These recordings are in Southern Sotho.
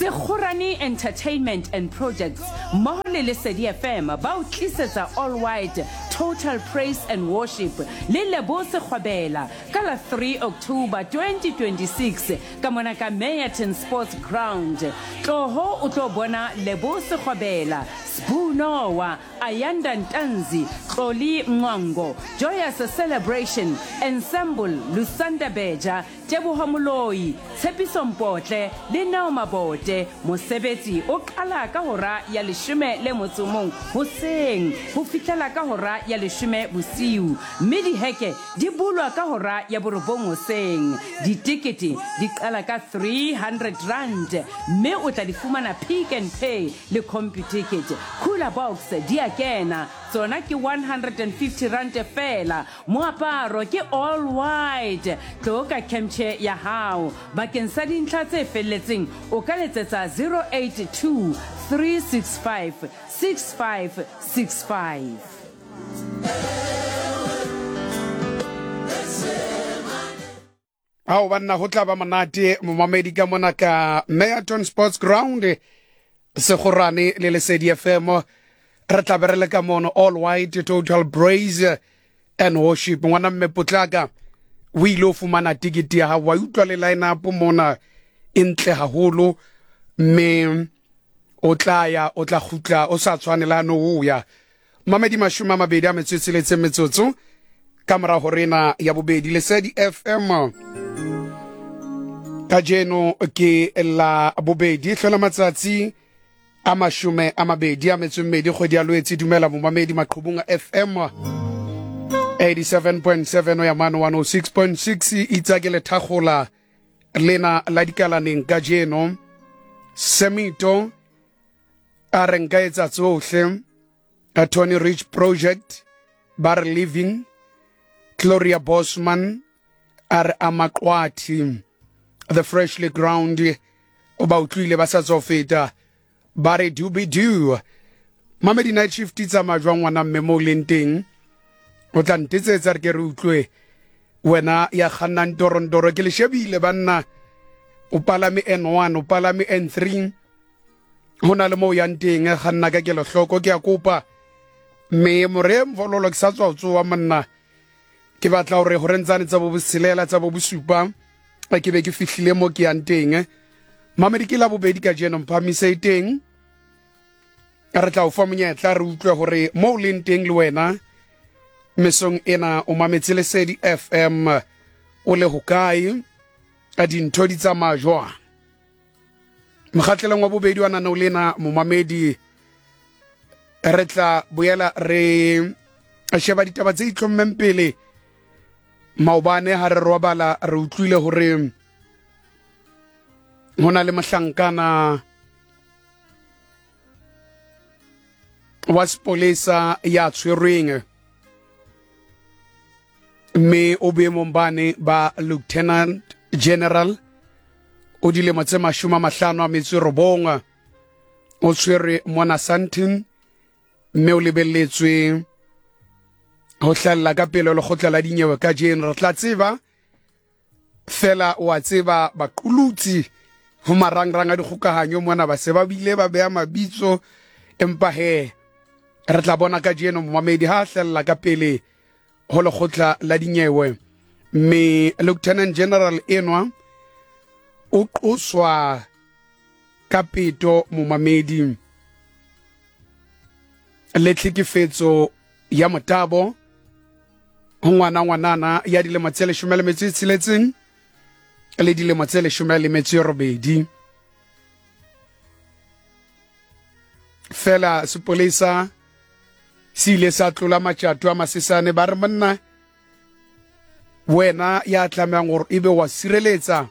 Sekgorane Entertainment and Projects mmoho le Lesedi FM ba o tlisetsa All White Total Praise and Worship le Lebo Sekgwabela ka la 3 October 2026 ka mona ka Meyerton Sports Ground. Tloho o tlo bona Lebo Sekgwabela, Sbu Noah, Ayanda Ntanzi, Xoli Mncwango, Joyous Celebration, Ensemble, Lusanda Beja, Teboho Moloi, Tshepiso Mpotle le Neo Mabote. Mosebetsi o qala ka hora ya leshome le motso o mong hoseng ho fihlela ka hora ya leshome bosiu mme diheke di bulwa ka hora ya borobong hoseng. Ditekete di qala ka R300 mme o tla di fumana Pick n Pay le Computicket. Cooler box di a kena, tsona ke R150 feela. Moaparo ke all white. Tlo ka kemtjhe ya hao. Bakeng sa dintlha tse felletseng o ka letsetsa 082 365 6565. Ao banna go tla ba monate momamedi ka mona ka Meyerton Sports Ground Segorane le Lesedi FM re tla be re le ka mono all white total praise and worship ngwana mme potlaka o ile o fumana tikete ya gago wa utlwa le line up mona e ntle haholo mme o tla ya o tla kgutla o sa tshwane le ano o ya Mamedi 26 metsotso ka morago rena ya bobedi Lesedi FM kajeno ke la bobedi hlola matsatsi a 22 kgwedi ya Lwetse. Dumela momamedi maqhubung a FM 87.7 ya mano 106.6 itsa ke lethakgola lena la dikalaneng kajeno semito a re nka etsa tsohle a Tony Rich Project ba re Living Gloria Bosman a re Amaqwathi The Freshly Ground o ba utlwile ba sa tswa feta ba re dubi du mamedi night shift tsamaya jwang ngwana mme mo o leng teng o tla ntetsetsa re ke re utlwe wena ya kgannang torontoro ke le shebile banna o palame N1 o palame N3 go na le mo o yang teng ga nna ka kelohloko ke a kopa mme more mfololo ke sa tswa o tsoa monna ke batla gore gore ntsane tsa bo botshelela tsa bo bosupa ke be ke fihlile mo ke yang teng mamedi ke la bobedi ka jeno mphamise e teng re tla o fa monyetla re utlwe gore mo o leng teng le wena mesong ena o mametse lesedi fm o le hokae a dintho di tsamaya jwang mokgatlelong wa bobedi wa naneo lena momamedi re tla boela re sheba ditaba tse itlhommeng pele maobane ha re robala re utlwile hore ho na le mohlankana wa sepolesa ya tshwerweng mme o boemong bane ba lieutenant general o dilemo tse 59 o tshwerwe mona Sandton mme o lebelletswe ho hlahella ka pele lekgotla la dinyewe kajeno re tla tseba fela o a tseba baqulutsi ho marangrang a dikgokahanyo mona ba se ba bile ba beya mabitso empa he re tla bona kajeno momamedi ha a hlella ka pele ho lekgotla la dinyewe mme lieutenant general enwa o qoswa ka peto momamedi le tlhekefetso ya motabo ho ngwana ngwanana ya dilemo tse 16 le dilemo tse 18 fela sepolesa se ile sa tlola matšato a masesane ba re monna wena ya tlamehang gore ebe wa sireletsa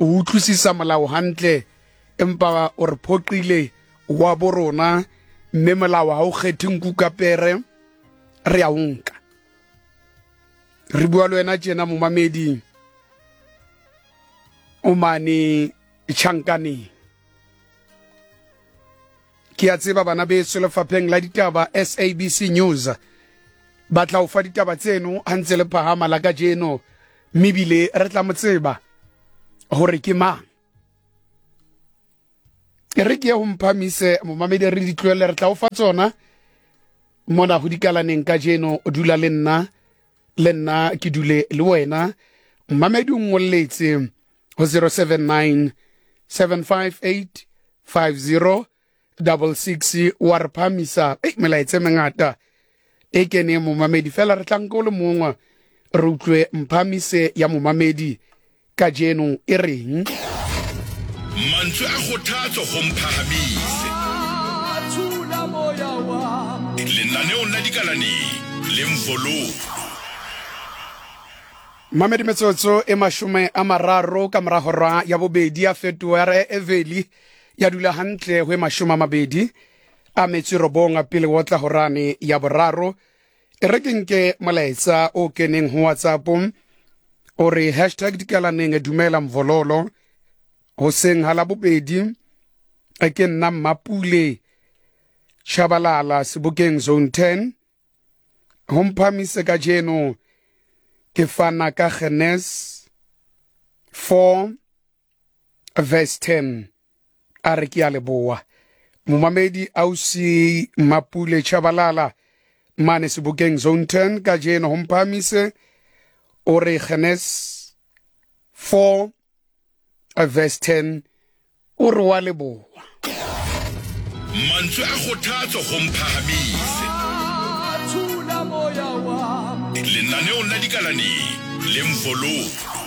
o utlwisisa molao hantle empa o re phoqile wa bo rona mme molao ha o kgethe nku ka pere re a o nka re bua le wena tjena momamedi o mane tjhankaneng ke a tseba bana beso lefapheng la ditaba SABC News ba tla o fa ditaba tseno ha ntse le phahama la kajeno mme ebile re tla mo tseba hore ke mang. E re ke ye go mphamise momamedi re di tlohelle re tla o fa tsona mona go dikalaneng ka jeno o dula le nna le nna ke dule le wena mmamedi o nngoletse go 079 758 50 66 wa re phamisa ei melaetsa e mengata e keneng momamedi fela re tla nka o le mongwe re utlwe mphamise ya momamedi kajeno e reng. Mantswe a kgothatso go Mphahamise. Lenaneong la Dikalaneng le Mvololo. Mamedi metsotso e mashome a mararo ka mora hora ya bobedi ya fetoha ya re Eveli ya dula hantle ho e mashome a mabedi a metso e robong pele ho tla horane ya boraro. E re ke nke molaetsa o keneng ho WhatsApp o re hashtag dikalaneng dumela Mvololo hoseng ha labobedi ke nna Mmapule Chabalala sebokeng zone 10 ho mphamise kajeno ke fana ka Genes 4 verse 10 a re ke a leboa momamedi ausi Mapule Chabalala mane sebokeng zone 10 kajeno ho mphamise o re Genes 4 verse 10 o re wa leboa. Mantswe a kgothatso go Mphahamise. Lenaneong la Dikalaneng le Mvololo.